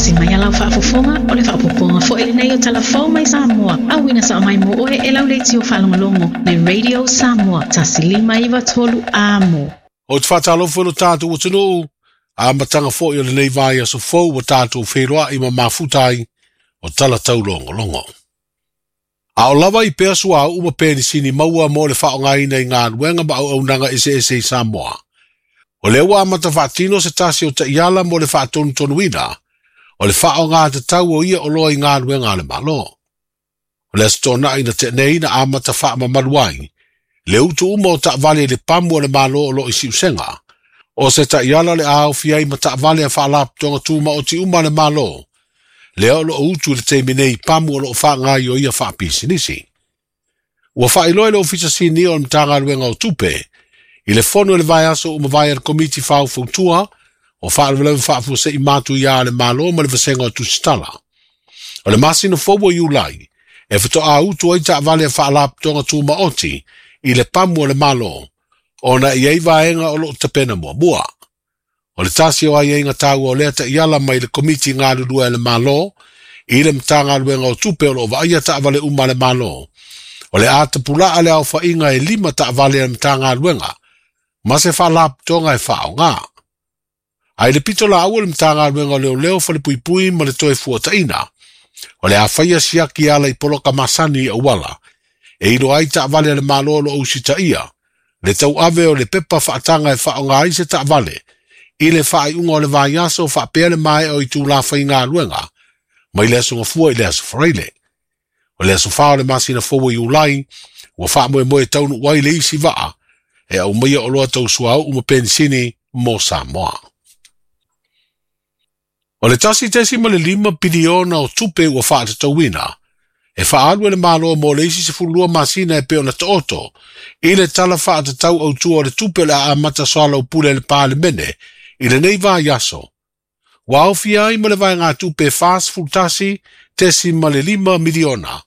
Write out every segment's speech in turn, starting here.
Tausi mai a lau faafofoga, o le faaopoopoga foi lenei o Tala Fou mai Samoa, auina sao mai mo oe e lau leitio faalogologo le Radio Samoa 1593 Amo. Ou te faatalofa i lo tatou atunuu, amataga foi o lenei vaiaso fou ua tatou feiloai ma mafuta ai o tala taulogologo. A o lava i pea suauu ma penisini maua mo le faaaogaina i galuega ma auaunaga eseese i Samoa. O lea ua amata faatino se tasi o taiala mo le faatonutonuina o le faaaoga tatau o ia oloa i galuega a le Malo. O le Aso Toonai na tea nei na amata faamamalu ai le utu uma o taavale i le pamu a le Malo o lo o i Siusega. O se taiala o le a aofia ai ma taavale a faalapotopotoga tumaoti uma a le Malo, lea o lo o utu i le taimi nei i pamu o lo o faagaoioia faapisinisi. Ua faailoa e le Ofisa Sinia o le Matagaluega o Tupe i le fono i le vaiaso ua mavae a le Komiti Faufautua o Faalavelave Faafuasei Matuia a le Malo ma le Vasega o Tusitala. O le masina fou o Iulai e faatoa utu ai taavale a faalapotopotoga tumaoti i le pamu a le Malo, ona e i ai vaega o lo o tapena muamua. O le tasi o aiaiga taua o lea taiala mai le Komiti Galulue a le Malo i le Matagaluega o Tupe o lo o vaaia taavale uma a le Malo, o le a tapulaa le aofaiga e 5 taavale a le Matagaluega ma se faalapotopotoga e faaaoga. A i le pito laua le Matagaluega o Leoleo, Falepuipui ma le Toefuataiga, o le a faia siaki e ala i poloka masani i auala, e iloa ai taavale a le Malo o lo o usitaia, le tauave o le pepa faataga e faaaoga ai se taavale i le faaiuga o le vaiaso faapea le maea o itula faigaluega mai le aso Gafua i le aso Faraile. O le aso 4 o le masina fou o Iulai, ua faamoemoe taunuu ai le isi vaa e aumaia oloa tau suauu ma penisini mo Samoa. O le 1.5 piliona o tupe ua faatatauina e faaalu e le Malo mo le isi 12 masina e pei ona taoto i le tala faatatau autua o le tupe o le a amata soalaupule e le Palemene i lenei vaiaso. Ua aofia ai ma le vaegatupe 41.5 miliona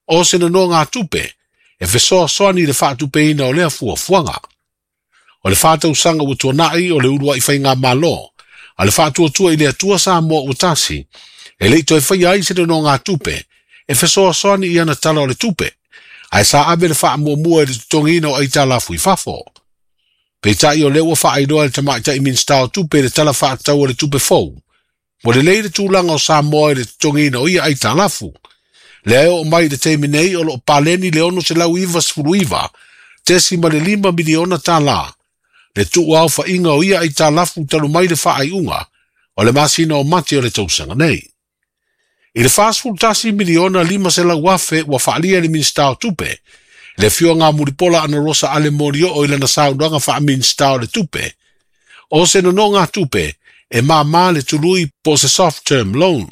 o se nonogatupe e fesoasoani i le faatupeina o lea fuafuaga. O le 4 tausaga ua tuanai o le uluai faigamalo a le Faatuatua i le Atua Samoa ua Tasi, e le i toe faia ai se nonogatupe e fesoasoani i ana tala o le tupe, ae sa ave le faamuamua i le totogiina o aitalafu i fafo. Peitai o lea ua faailoa e le tamaitai Minisita o Tupe i le tala faatatau o le tupe fou, ua lelei le tulaga o Samoa i le totogiina o ia aitalafu. Lea e oo mai i le taimi nei o lo o paleni le 699.5 miliona tala le tuuaofaiga o ia aitalafu talu mai le faaiuga o le masina o Mati o le tausaga nei. I le 41 miliona 500,000 ua faaalia e le Minisita o Tupe, le afioga Mulipola Anarosa Ale Molioo i lana saunoaga faa-Minisita o le Tupe, o se nonogatupe e māmā le tului po o se soft term loan.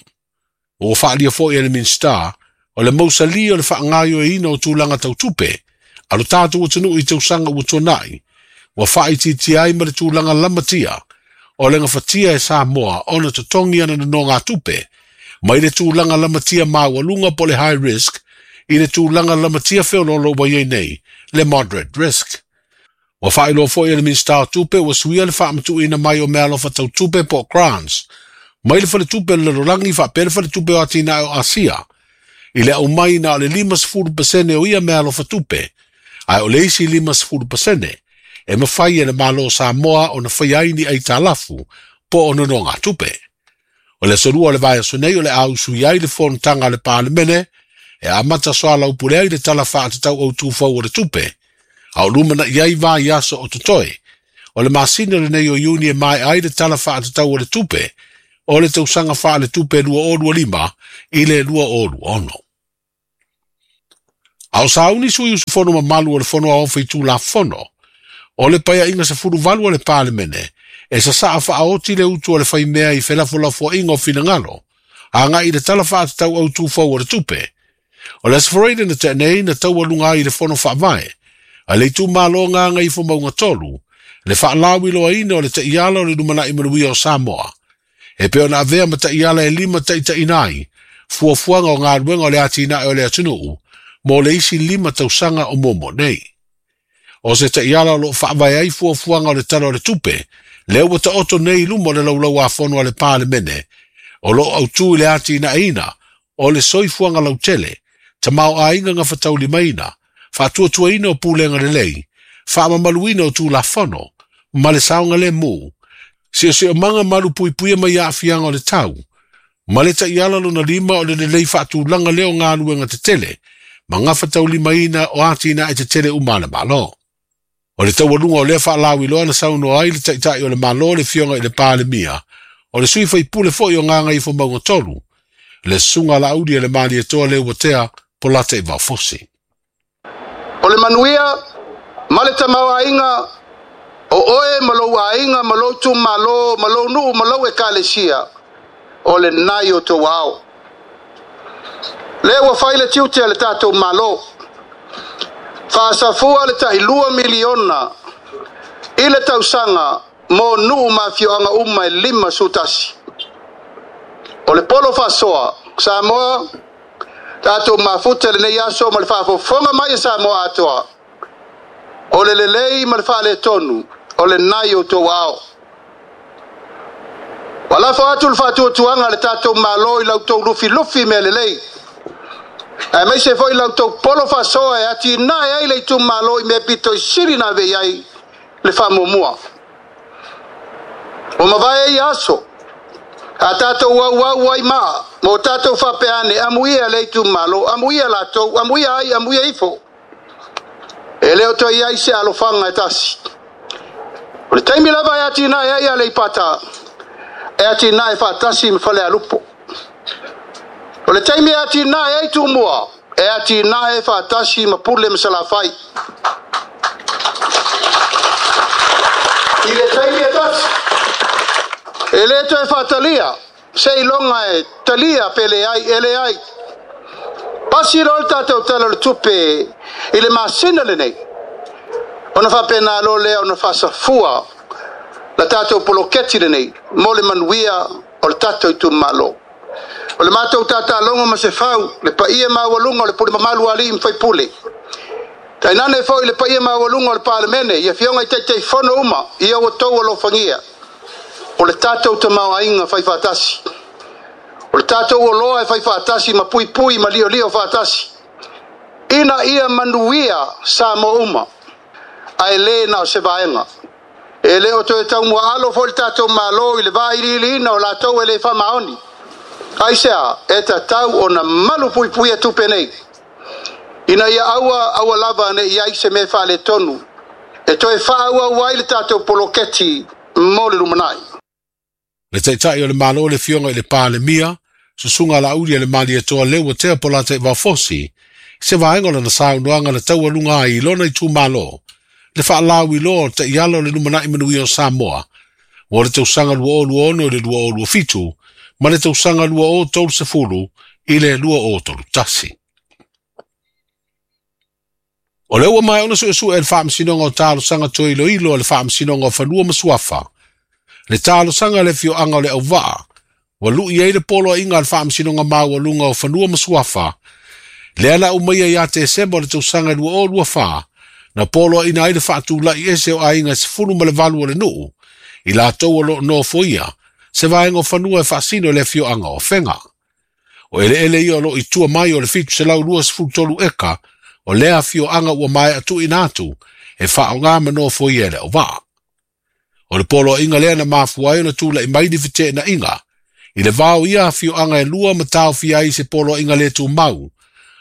Ua faaalia foi e le Minisita o le mausali o le faagaoioiina o tulaga tau tupe a lo tatou atunuu i tausaga ua tuanai, ua faaitiitia ai ma le tulaga lamatia o le gafatia e Samoa ona totogi ana nonogatupe mai le tulaga lamatia maualuga po le high risk i le tulaga lamatia feoloolo ua i ai nei, le moderate risk. Ua faailoa foi e le Minisita o Tupe ua suia le faamatuuina mai o meaalofa tau tupe po o grants mai le Faletupe o le Lalolagi faapea le Faletupe o Atinae o Asia i le aumai na o le 50% o ia meaalofa tupe, ae o le isi 50% e mafai e le Malo o Samoa ona faia ai ni aitalafu po o nonogatupe. O le aso 2 o le vaiaso nei o le a usui ai le fonotaga a le Palemene e amata soalaupule ai le tala faatatau autu fou o le tupe, a o lumanai ai vaiaso o totoe. O le masina lenei o Iuni e maea ai le tala faatatau o le tupe o le tausaga faaletupe 2025 i le 2026. A o sauni sui usufono mamalu o le Fono Aoao Faitulafono o le Paeaiga 18 a le Palemene e sasaa faaoti le utu o le faimea i felafolafoaiga o finagalo agai i le tala faatatau autu fou o le tupe. O le Aso Faraile na tea nei na taualuga ai i le Fono Faavae a le itumalo Gagaifomauga 3 le faalauiloaina o le taiala o le lumanai manuia o Samoa e pei ona avea ma taiala e limataitaiina ai fuafuaga o galuega o le atinae o le atunuu mo le isi 5 tausaga o muamua nei. O se taiala o lo o faavae ai fuafuaga o le Tala o le Tupe, lea ua taoto nei i luma o le laulau-a-fono a le Palemene, O loo autū i le atinaeina o le soifuaga lautele, tamaoaiga gafataulimaina, faatuatuaina o pulega lelei, faamamaluina o tulafono, ma le saogalemu, siosiomaga malupuipuia mai aafiaga o le tau, ma le taiala lona lima o le lelei faatulaga lea o galuega tetele, ma gafataulimaina o atinae tetele uma a le Malo. O le taualuga o lea faalauiloa na saunoa ai le Taitai o le Malo le Afioga i le Palemia, o le sui faipule foi o Gagaifomauga 3, le Susuga Laauli a le Malietoa Leuatea Polata i Vaofosi. O le manuia ma le tamaoaiga o oe ma lou aiga ma lou itumalo ma lou nuu ma lou ekalesia o lenā i o outou aao. Lea ua fai le tiute a le tatou Malo. Faasafua le tailua miliona i le tausaga mo nuu ma afioaga uma e 51. O le polo faasoa Samoa, tatou mafuta lenei aso ma le faafofoga mai e Samoa atoa. O le lelei ma le faaletonu o lenā i outou aao. Ua lafo atu le faatuatuaga a le tatou Malo i la outou lufilufi mea lelei, aemaise foi la outou polo faasoa e atinae ai le itumalo i mea pito i sili na ave i ai le faamuamua. Ua mavae ia aso, a tatou auau ai maa, ma o tatou faapea ane, amuia le itumalo, amuia latou, amuia ai, amuia ifo. E le o toe i ai se alofaga e tasi. O le taimi lava e atinae ai Aleipata, e atinae faatasi ma Falealupo. O le taimi e atinae ai Tumua, e atinae faatasi ma Pule ma Salafai. I le taimi e tasi, e le toe faatalia seiloga e talia pe leai, e leai. Pasi loa le tatou Tala o le Tupe i le masina lenei, ona faapena loa lea ona faasafua la tatou poloketi lenei mo le manuia o le tatou itumalo. O le matou tatalogo ma se fau, le paia maualuga o le pule mamalu a alii ma faipule. Tainane foi le paia maualuga o le Palemene, i afioga i Taitaifono uma, ia ua outou alofagia. O le tatou tamaoaiga faifaatasi. O le tatou oloa e faifaatasi ma puipui ma liolio faatasi. Ina ia manuia Samoa uma, ae le na o se vaega. E le o toe taumuaalo foi le tatou Malo i le vailiiliina o latou e le faamaoni. Aisea, e tatau ona malu puipuia tupe nei, ina ia aua aua lava ne i ai se mea faaletonu e toe faaauau ai le tatou poloketi mo le lumanai. Le Taitai o le Malo le Afioga i le Palemia, Susuga Laauli a le Malietoa Leuatea Polata i Vaofosi, se vaega o lana saunoaga na taualuga ai i lona itumalo, le faalauiloa o taiala o le lumanai manuia o Samoa, mo le tausaga 2026 i le 2027, ma le tausaga 2030 i le 2031. O lea ua maea ona suesue e le Faamasinoga o Talosaga Toe Iloilo a le Faamasinoga o Fanua ma Suafa, le talosaga a le afioaga o le Auvaa, ua lui ai le poloaiga a le Faamasinoga Maualuga o Fanua ma Suafa, lea na aumaia ia Tesema o le tausaga 2024, na poloaiina ai le faatulai ese o aiga e 18 o le nuu, i latou o loo nofoia, se vaega o fanua e faasino i le afioaga o Afega. O eleele ia o loo i tua mai o le 723 eka o lea afioaga ua maea tuuina atu e faaaoga ma nofoia e le auvaa. O le poloaiga lea na mafua ai ona tulai mai ni feteenaiga i le va o ia afioaga e lua ma taofia ai se poloaiga le tumau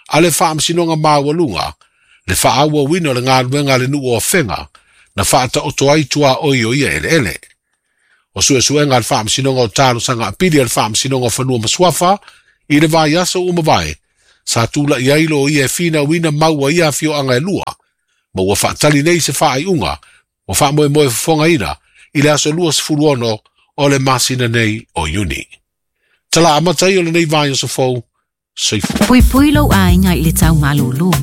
a le Faamasinoga Maualuga le faaauauina o le galuega a le nuu o Afega na faataoto ai tuaoi o ia eleele. O suesuega a le Faamasinoga o Talosaga Apili a le Faamasinoga o Fanua ma Suafa i le vaiaso ua mavae, sa tulai ai loia e finauina mau a ia afioaga e lua, ma ua faatali nei se faaiuga ua faamoemoe fofogaina i le aso 26 o le masina nei o Iuni. Tala amata ai o lenei vaiaso fou, soifua. Puipui lou aiga i le tau malūlū.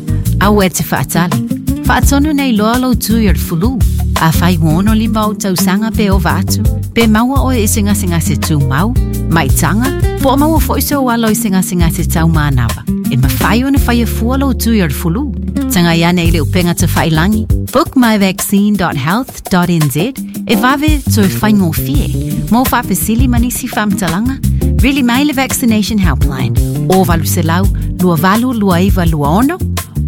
Aua e te faatali. Faatonu nei loa lou tui o le fulu. Afai ua 65 ou tausaga pe ova atu, pe maua oe i se gasegase tumau, maitaga, po o maua foi sou alo i se gasegase tau manava, e mafai ona faia fua lou tui o le fulu. Tagai ane i le upega tafailangi bookmyvaccine.health.nz e vave toe faigofie. Mo faafesili ma nisi faamatalaga, Vili mai le Vaccination Helpline o 800 2829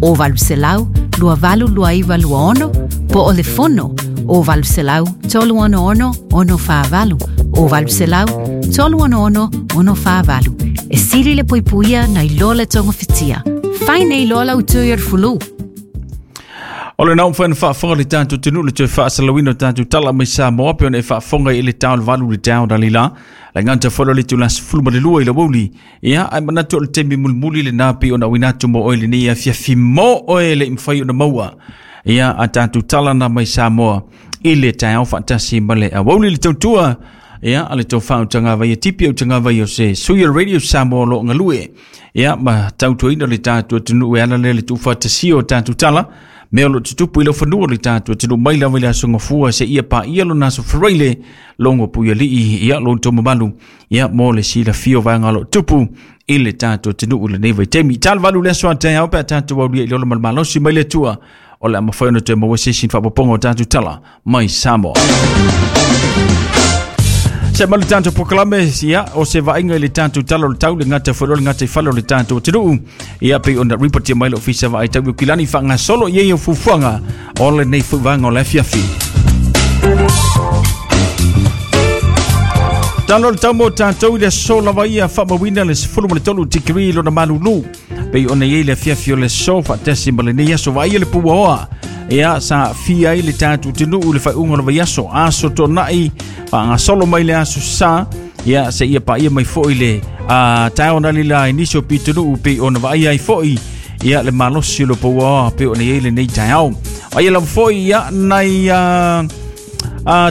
26 o 800 2829 26 po o le fono o 800 366 648 o 800 366 648. E sili le puipuia nai lo le togofitia. Fai nei loa lau tui o le fulu. O le nau whaina whaafonga le tātou tenu le toe whaasalawina o tātou tala mai Samoa pe ona e whaafonga i le tau le valu le tau dali la. Le nganta whalo le tū las fulu ma le lua i la wauli. Ia, ai manatu o le temi mulimuli le nā pi ona winatu mo oe le nei a fiafi mo oe le imwhai ona maua. Ia, a tātou tala na mai Samoa i le tau whaatasi ma le awauli le tautua. Ia, a le tau whautanga vai e tipi au tanga vai o se Suia Radio Samoa lo ngalue. Ia, ma tautuaina le tātou tunu e ala le le tūwhatasio o tātou tala. Mea o lo tutupu i lau fanua le tātou tunu mai lava i le aso ngafua se ia pa ia lo naso faraile longo puia lii ia lo tomo malu ia mo le sila fio vaenga lo tupu i le tātou tunu le nei vai temi. Tal valu le aso ate au pe a tātou au lia i lola malmalosi mai le tua o le amawhai ona te maua se sin whapaponga o tātou tala mai Samoa. Se malu tātou pokalame, ia, o se vainga i le tātou tala o le tau, le ngata whero, le ngata i whalo le tātou te Ia, pe ona ripotia mai le ofisa vaai tau i kilani whanga solo i o fufuanga o le nei fuivanga o le afiafi. Talo le tau mo tātou i le so lava ia whamawina le sefulu ma le tolu tikiri lona malulu. Pe ona iei le afiafi o le so whaatasi ma le nei aso vaai le pua oa. Ia sa fia ai le tātou te nuu le whaiunga o le vaiaso. Aso tōnai whaanga solo mai le aso sa. Ia se ia pa ia mai foi le tau na lila inisi o pitonuu pe ona vaai ai foi. Ia le malosi o le pua oa pe ona iei le nei taeao. Ai lava foi ia nai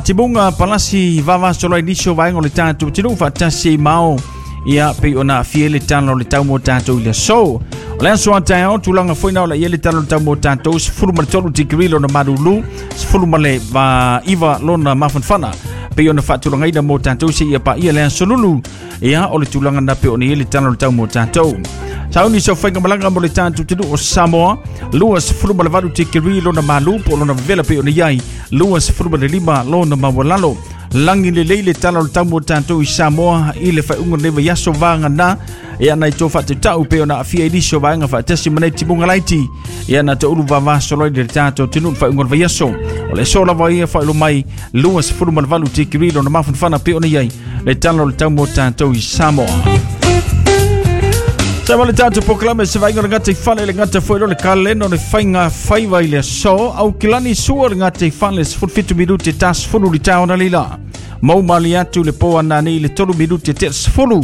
timunga palasi vavasola inisi o vaenga o le tātou te nuu whaatasi i mao. Ia pe ona fia le tala o le tau mo tātou i le so. O le aso a taeao, tulaga foi na o la ia le tala o le tau mo tātou, sefulu ma le tolu tikiri lona malulu, sefulu ma le iva lona mafanafana. Pe ona faatulagaina mo tātou se ia pa ia le aso lulu. Ia o le tulaga na pe ona ia le tala o le tau mo tātou. Sauni so whainga malanga mo le tātou te o Samoa, lua sefulu ma le valu tikiri lona malu, po lona vevela pe ona iai, lua sefulu ma le lima lona mawalalo. Langi le leile tala o le tau mo tātou i Samoa i le whaiunga le vaiaso vānga nā. Ia nai tō whaatutau pe ona awhia i liso vaenga whaatasi manei timunga laiti. Ia nā te ulu vavaso loi le tātou te nuu whaiunga le vaiaso. O le so lava ia whailo mai lua sefulu ma le valu tikiri lona mafanafana pe ona iai le tala o le tau mo tātou i Samoa. Sa wale tātou pokalame se vainga le ngata i whale le ngata fuero le kaleno le whainga whaiva i le so. Au kilani sua le ngata i whale se 17 minute tas fulu li tau na lila. Mau mali atu le poa nani le 3 minute te sefulu.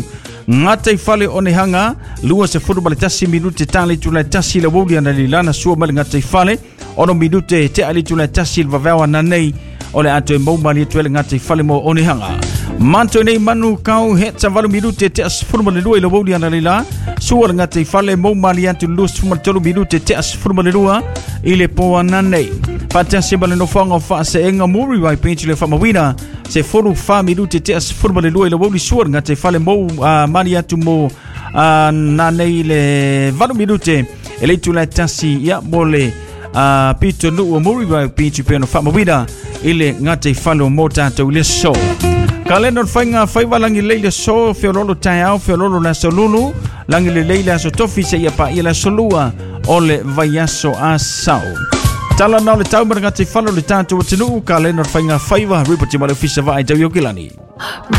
Ngata i whale o ne hanga, lua se fulu ma le tasi minute tali tu le tasi le wuli ana lila na sua ma le ngata i whale. Ono minute te ali tu le tasi le vaveawa nani o le atu e mau mali atu le ngata i whale mo o ne hanga. Manto nei manu kau he tavalu minute te asfulu ma le lua i le wuli ana lila. Sua le ngata i whale mau mali atu le lua sefulu ma le tolu minute te asfulu ma le lua i le poa nani. Whaatasi ma le nofoanga o whaaseenga muri wai penchi le whamawina. Se folu wha minute te asfulu ma le lua i le wuli sua le ngata i whale mau mali atu mo nanei le valu minute. E le tu le tasi ia mo le pito nuu muri wai penchi pe no whamawina i le ngata i whale o mō tātou i le so. Ka leno le whainga whaiwa langi leile so, whiololo taeao, whiololo le aso lulu, langi le leile aso tofi se ia pa ia le aso lua o le vaiaso a sau. Tala nao le tau mara ngati whalo le tātou o te nuu, ka leno le whainga whaiwa, ripoti ma le ofisa vaai tau i o kilani.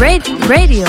Radio